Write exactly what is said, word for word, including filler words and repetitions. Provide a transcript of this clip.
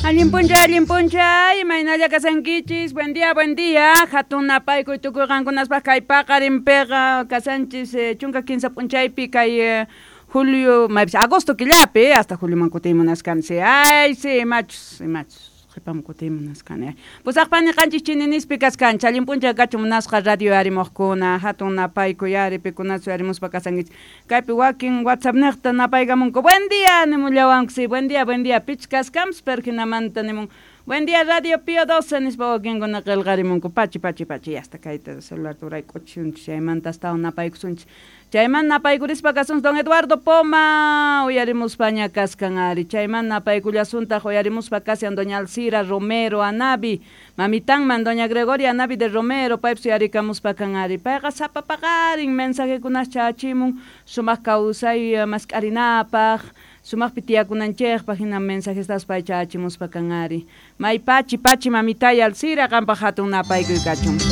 Allin p'unchay, allin p'unchay, imaynalla kasankichis, buen día, buen día, hatun napaykuy tukuy qankunaspaq kay paqarinpiqa kasanchis eh, chunka kinsa p'unchaypi kay eh, julio, maypis agosto killapi, hasta julioman kutiymunaskansi, ay sí, machus, machus qhipaman kutiymunaskan, pusaqpani qanchis chininispi kaskanchis, allin p'unchay kachun munasqa radio yarimuqkuna, hatun napaykuy ari pikunachu yarimuspa kasankichis, kaypi wakin WhatsApp niqta napaykamunku, buen día nimullawanku, sí, buen día, buen día, pich kaskanpis pero hinamanta nimun, buen día Radio Pío doce nispa wakinkuna qillqarimunku, pachi, pachi, pachi, hasta kayta celular turay k'uchisunchis, chaymanta astawan napaykusunchis, chayman napaykurispa kasunchis don Eduardo Poma uyarimuspaña kaskan ari, chayman napaykullasuntaq uyarimuspa kashan doña Alcira Romero Anabi, mamitanman doña Gregoria Anabi de Romero, paypis uyarikamuspa kan ari, payqa sapa paqarin mensajekunas chachimun sumaq kawsay mask'arinapaq, sumaqpi tiyakunanchikpaq hina mensajestas pay chachimuspa kan ari, may pachi pachi mamitay Alcira qampaq hatun napaykuy kachun.